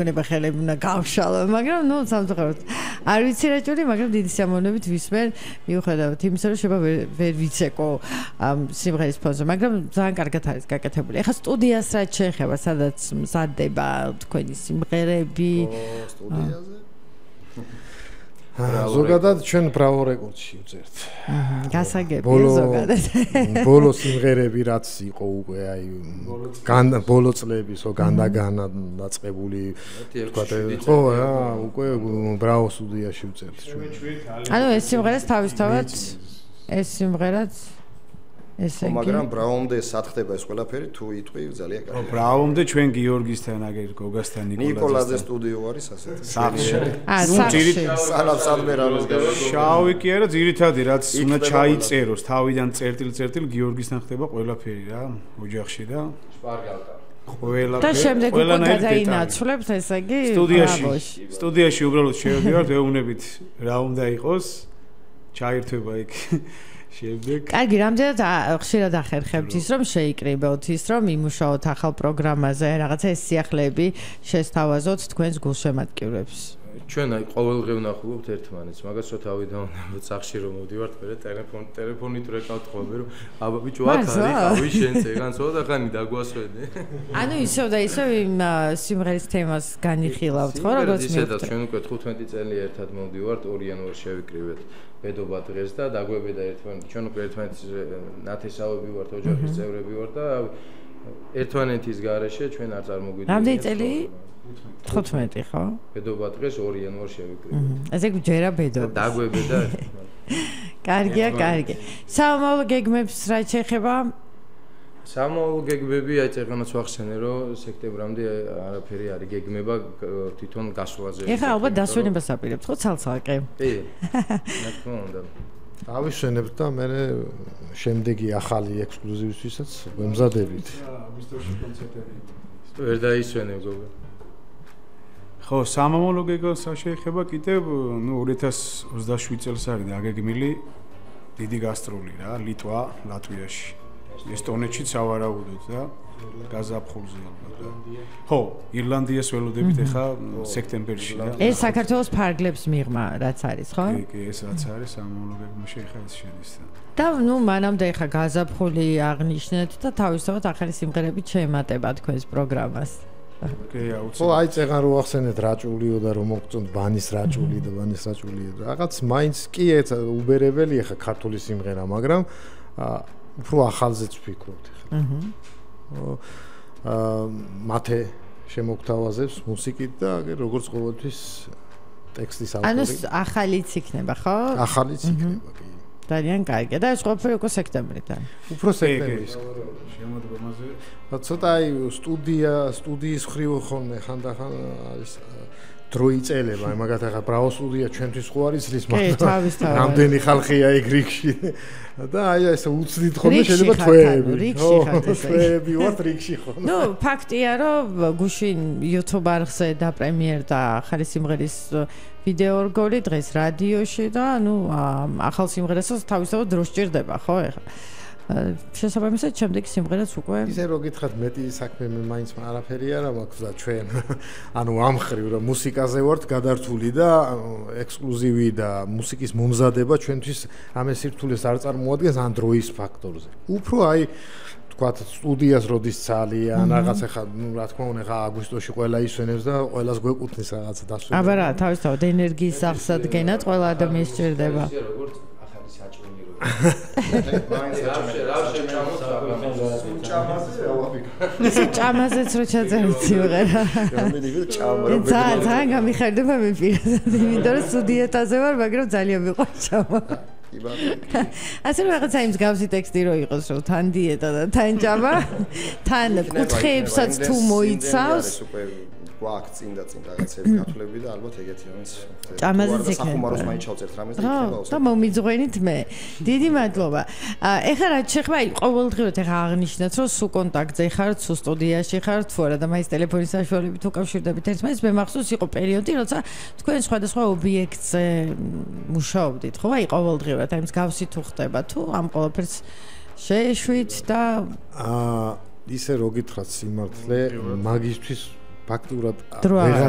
ხელები უნდა გავშალო, მაგრამ ნუ სამწუხაროდ არ ვიცი რა ჭური, მაგრამ დიდი სიამოვნებით ვისმენ, მიუხედავად იმისა, რომ შეიძლება ვერ ვიცეკო სიმღერის ფონზე, მაგრამ ძალიან კარგად არის გაკეთებული. ეხლა სტუდიას რა შეეხება, სადაც მზადდება თქვენი სიმღერები? სტუდიაზე? ზოგადად ჩვენ ბრავო რეკორდში ვწერთ. გასაგებია ზოგადად. ბოლო სიმღერები რაც იყო უკვე აი ბოლო წლებისო განდაგანა დაწყებული თქვათ ხო რა უკვე ბრავო სტუდიაში ვწერთ ჩვენ. ანუ ეს სიმღერაც თავისთავად ეს სიმღერაც ესე იგი მაგრამ ბრავომდე სათხდება ეს ყველაფერი თუ იტყვი ძალიან კარგი. ბრავომდე ჩვენ გიორგისთან აგერ გოგასთან ნიკოლაძე სტუდიო არის ასეთი. სახში. სალავსადმე რამეს გავიგე. შავი კი არა ძირითადი რაც უნდა ჩაიწეროს თავიდან წერტილ გიორგისთან ხდება ყველაფერი რა ოჯახში და შპარგალკა. ყველაფერი. და შემდეგ უკვე გადაინაცვლებთ ესე იგი სტუდიაში უბრალოდ შევდივართ ვეუბნებით რა უნდა იყოს ჩაირთვება იქ შემდეგ. კარგი, რამდენად ხშირად ახერხებთ ის რომ შეიკრიბოთ ის რომ იმუშაოთ ახალ პროგრამაზე, რაღაცა ეს სიახლეები შესთავაზოთ თქვენს გულშემატკივრებს. ჩვენ აი ყოველდღე ვნახულობთ ერთმანეთს, მაგასო თავი დავუნებოთ სახში რომ მოვდივართ, მერე ტელეფონით რეკავთ ხოლმე რომ აბა ბიჭო აქ არის, ავი შენ წეგან ცოტა ხანი დაგვასვენე. ანუ ისევ და ისევ იმ სიმღერის თემას განიხილავთ, ხო, როგორც მივხვდეთ. ჩვენ უკვე 15 წელი ერთად მოვდივართ, 2 იანვარს შევიკრიბეთ. ბედობა დღეს და დაგვებედა ერთმანეთი. ჩვენ უკვე ერთმანეთის ნათესავები ვართ, ოჯახის წევრები ვართ და ერთმანეთის გარეშე ჩვენ არ წარმოგვიდგენია. რამდენი წელი? 15 ხო? ბედობა დღეს 2 იანვარს შევიკრიბეთ. ესე გჯერა ბედობა. დაგვებედა. კარგია, კარგი. სამომავლო გეგმებს რა შეეხება? სამომავლო გეგმები აი წეგანაც ვახსენე რომ სექტემბრამდე არაფერი არის გეგმება თვითონ გასვლაზე. ეხლა ალბათ დასვენებას აპირებთ ხო ცალ-ცალკე? კი. რა თქმა უნდა. ავისვენებთ და მე შემდეგი ახალი ექსკლუზივისთვისაც ვემზადებით. აგვისტოში კონცერტები. ვერ დაისვენებ გოგო. ხო, სამომავლო გეგმას შეეხება კიდევ 2027 წელს არის დაგეგმილი დიდი გასტროლი რა, ლიტვა, ლატვიაში. ესტონეთშიც ავარაუდოთ და გაზაფხულზე ალბათ. ხო, ირლანდიას ველოდებით ახლა სექტემბერში და ეს საქართველოს ფარგლებს მიღმა რაც არის, ხო? კი, ეს რაც არის სამომავლო გეგმაში ახლა ეს შედის და ნუ მანამდე ახლა გაზაფხული აღნიშნეთ და თავისთავად ახალი სიმღერები შეემატება თქვენს პროგრამას. კი, აუცილებლად. ხო, აი წეგან რო ახსენეთ რაჭულიო და რომ მოგწონთ ბანის რაჭული და ბანის რაჭული. რაღაც მაინც კი უბერებელი ახლა ქართული სიმღერა, მაგრამ უფრო ახალზეც ვფიქრობთ ახლა. მათე შემოგთავაზებს მუსიკით და როგორც ყოველთვის ტექსტის ავტორი. ანუ ახალიც იქნება, ხო? ახალიც იქნება, კი. ძალიან კარგი. და ეს ყველაფერი უკვე სექტემბრიდან. უფრო სექტემბრის. შემოდგომაზე. ცოტა აი სტუდიის ხრივ ხოლმე ხანდახან არის დრო იწელება, მაგათ ახლა ბრავო სტუდია ჩვენთვის ხო არის რის მაგრამ რამდენი ხალხია იქ რიგში და აი ეს უცდით ხოლმე შეიძლება თვეები. თვეები ვართ რიგში ხოლმე. ნუ ფაქტია რომ გუშინ YouTube არხზე დაპრემიერდა ახალი სიმღერის ვიდეო რგოლი დღეს რადიოში და ნუ ახალ სიმღერასაც თავისთავად დრო სჭირდება, ხო ეხლა. შესაბამისად შემდეგი სიმღერაც უკვე ისე რო გითხრათ მეტი საქმე მე მაინც არაფერი არა მაქვს და ჩვენ ანუ ამხრივ რომ მუსიკაზე ვართ გადართული და ექსკლუზივი და მუსიკის მომზადება ჩვენთვის ამე სირთულეს არ წარმოადგენს ან დროის ფაქტორზე. უფრო აი თქვათ სტუდიას როდის ძალიან რაღაც ახლა ნუ რა თქმა უნდა ახლა აგვისტოში ყველა ისვენებს და ყველას გვეკუთვნის რაღაცა დასვენება. აბა რა თავისთავად ენერგიის აღსადგენად ყველა ადამიანს სჭირდება. ისე ჭამაზეც რო ჩაწერეთ სიმღერა. ძალიან გამიხარდება მე პირადად, იმიტომ რომ სტუდიათაზე ვარ, მაგრამ ძალიან მიყვარს ჭამა. ასე რომ რაღაცა იმ მსგავსი ტექსტი რო იყოს, რომ თან დიეტა და თან ჭამა, თან კუთხეებსაც თუ მოიცავს. გვაქვს წინ რაღაცები გათვლები და ალბათ ეგეთი რომელიც ჭამაზეც იქნება. სახუმაროს მაინც ჩავწერთ რამეს და იქნება. და მომიძღვენით მე. დიდი მადლობა. ეხლა რა შეხება, აი ყოველდღიურად ეხლა აღნიშნეთ, რომ სულ კონტაქტზე ხართ, სულ სტუდიაში ხართ, თუ არა და მაინც ტელეფონის საშუალებით უკავშირდებით ერთმანეთს, მე მახსოვს იყო პერიოდი, როცა თქვენ სხვადასხვა ობიექტზე მუშაობდით, ხო? აი ყოველდღიურად აი მსგავსი თუ ხდება, თუ ამ ყველაფერს შეეშვით და ისე რო გითხრათ სიმართლე, მაგისთვის ფაქტურად დრო აღარ ვეღარ